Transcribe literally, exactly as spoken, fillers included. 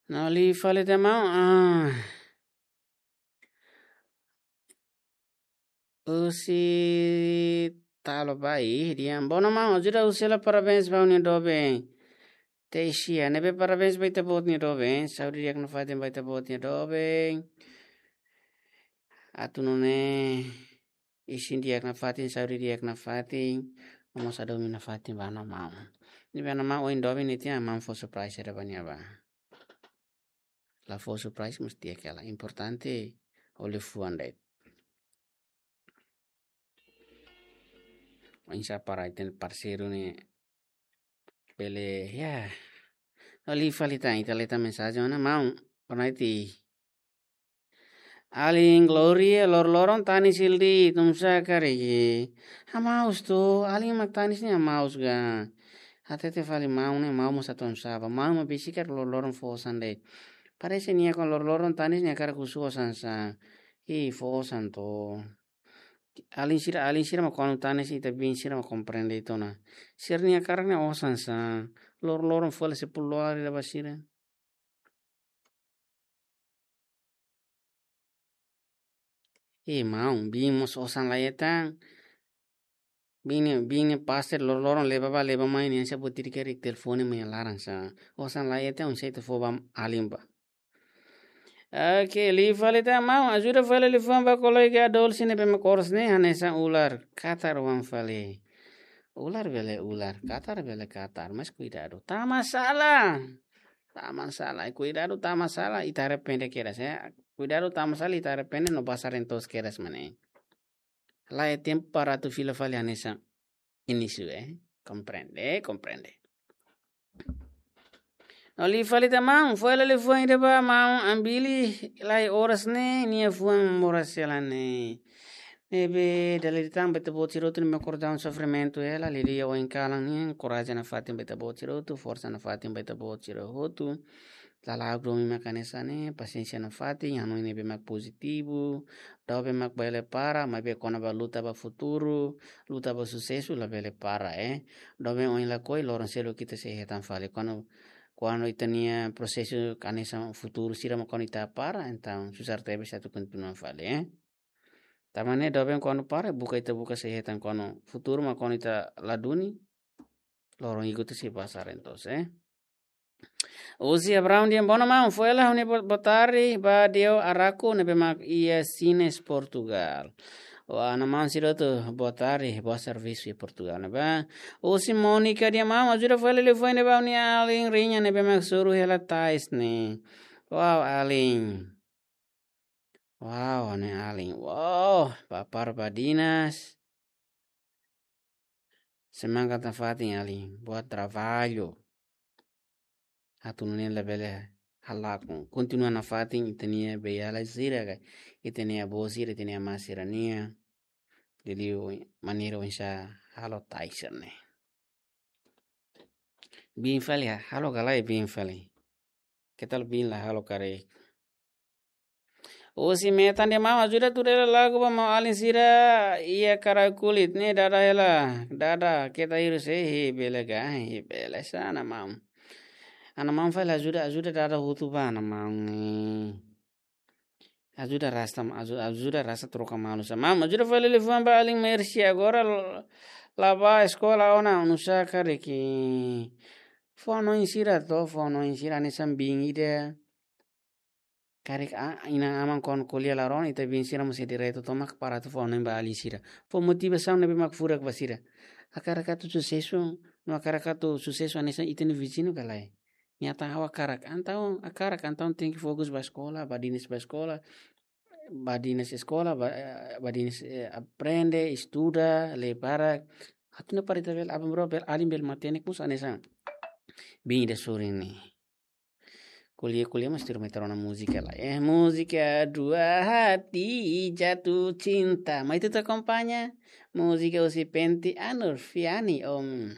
No liu fali ita maun, ah. Husi Talo Bai, dehan: Boa noite maun, ajuda husi hela parabéns ba ha'u-nia doben. Teixia, ne'ebé parabéns ba ita-boot nia doben. Saúde di'ak nafatin ba ita-boot nia doben. Atu nune'e isin di'ak nafatin, saúde di'ak nafatin. Mós hadomi nafatin ba ha'u-nia maun. Ne'ebé ha'u-nia maun ohin doben ne'e tiha, maun fó surprise ida ba nia bá. La fó surprise mós di'ak hela. Importante ó liafuan de'it. Oinsá para ita-nia parseiru ne'e bele, ya. No liu fali tan, ita lee tan mensajen ona, maun. Pernah iti. Alin Gloria, loroloron tanis hela de'it, nusá karik. Hamaus to, alin mak tanis ne'e hamaus ga. Hatete fali maun ne'e, maun mós atu nusá ba. Maun mak besik karik loroloron fó osan de'it. Parese nia kuandu loroloron tanis nia hakarak husu osan sá. Ih, fó osan to. Alin sira, alin sira mak kuandu tanis ita biin sira mak komprende ita ona. Sira-nia hakarak ne'e osan sá. Loroloron fó hela sepuluh dolar ida ba sira. Ih, maun, biin mós osan la hetan. Biin ne'e, biin ne'e pasti loroloron leba bá leba mai ne'e, se buat ida karik telefone mai laran sá. Osan la hetan, oinsá ita fó ba alin bá. Oke, liu fali tan maun, ajuda fali liafuan ba kolega Adolfo ne'ebé mak oras ne'e hanesan ular katar oan fali. Ular bele ular, katar bele katar, mas kuidadu. Tama sala. Tama sala, kuidadu tama sala, ita arrepende kedas, ya. Kuidadu tama sala, ita arrepende no basar entos kedas mak ne'e. La iha tempu para atu fila fali hanesan inísiu, eh. Komprende, komprende. No liu fali tan maun, fó hela liafuan ida ba maun Ambili, la iha oras ne'e, nia fuan moras hela ne'e. Ne'ebé dala ida tan ba ita-boot sira hotu ne'ebé mak akordaun sofrimentu hela, liuliu ohin kalan nian, korajen nafatin ba ita-boot sira hotu, forsa nafatin ba ita-boot sira hotu. Lala'ok domin mak hanesan ne'e, pasiénsia nafatin, hanoin ne'ebé mak pozitivu, doben mak bele para, maibé kona-ba luta ba futuru, luta ba susesu, labele para, eh. Doben ohin lakohi, loron seluk ita sei hetan fali. Kuandu, kuandu ita-nia prosesu hanesan futuru sira mak kuandu ita para, entaun susar tebes atu kontinua fali, eh. Tanba ne'e doben kuandu para, buka ita buka sei hetan, kuandu futuru mak kuandu ita la duni, loron ikus ita sei basar entos, eh. Husi Abraão dehan: Boa noite maun, fó hela ha'u-nia bo-, boa tarde ba Deo Araku ne'ebé mak iha Sines, Portugal. Wah, ha'u-nia maun sira hotu, boa tarde, boa servisu iha Portugal ne'ebá. Husi Mónica dehan: Maun, ajuda fó hela liafuan ne'e ba ha'u-nia alin Rinha ne'ebé mak soru hela tais ne'e. Wow, alin. Wow, ne'e alin. Wow, papar badinas. Semangat nafatin alin. Boa trabalho. Atu nune'e labele halakon. Kontinua nafatin ita-nia beiala sira ka. Ita-nia avó sira, ita-nia amá sira-nia. Jadi, maneira oinsá halo tais ne'e. Biin fali ya, halo ka lae biin fali. Ketal biin la halo karik. Husi Metan dehan: Maun, ajuda tuur hela lagu ba maun alin sira iha Karakulit ne'e, dada hela, dada keta hirus, eh, he bele ga, he bele sá ha'u-nia maun. Ha'u-nia maun fali ajuda, ajuda dada hotu ba ha'u-nia maun ne'e. Ajuda rasta, aju-, ajuda rasta troka malu sá. Maun, ajuda fó hela liafuan ba alin Mercy agora l-, la bá eskola ona, nusá karik. Fó hanoin sira to, fó hanoin sira hanesan biin ida. Karik a-, inan-aman kuandu ko'alia la rona, ita biin sira mós sei direitu tomak para atu fó hanoin ba alin sira. Fó motivasaun ne'ebé mak furak ba sira. Hakarak atu susesu, no hakarak atu susesu hanesan ita-nia viziñu ka lae. Nia hatán ha'u hakarak, entaun hakarak, entaun tenke fokus ba eskola, badinas ba eskola, badinas eskola, ba-, eh, badinas, eh, aprende, estuda, lee barak. Atu nune'e para ita bele, aban-bainrua bele, alin bele matenek mós hanesan biin ida sorin ne'e. Ko'alia, ko'alia, mas tiro meter ona múzika lae. Eh, múzika Dua Hati Jatuh Cinta. Mai ita akompaña múzika husi Penti Anur Fiani, om.